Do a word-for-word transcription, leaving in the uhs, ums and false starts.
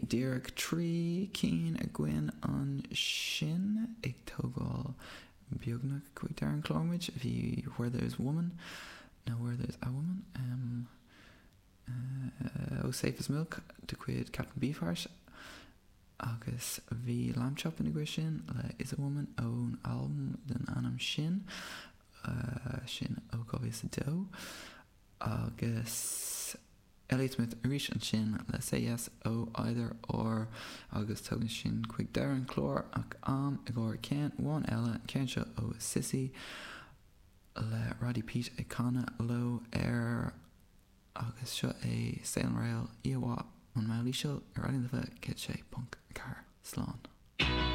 Díreach trí cinn againn ansin ag tógáil beagnach chuig deireadh an chláir muid bhí Where There's Woman nó Where There's a Woman um, uh, ó Safe as Milk de chuid Captain Beefheart agus bhí Lambchop ina dhiaidh sin le Is a Woman ón albam den ainm sin uh, sin ó dhá mhíle a dó agus Elliott Smith arís ansin le Say Yes ó Either Or agus tugann sin chuig deireadh an chláir ach am i gcomhair ceann amháin eile ceann seo ó Sissy le Roddy Pete ag canadh leo air agus seo é Sail Rail íomhá an mheáníseal ar Raidió na Life céad sé ponc ceathair slán.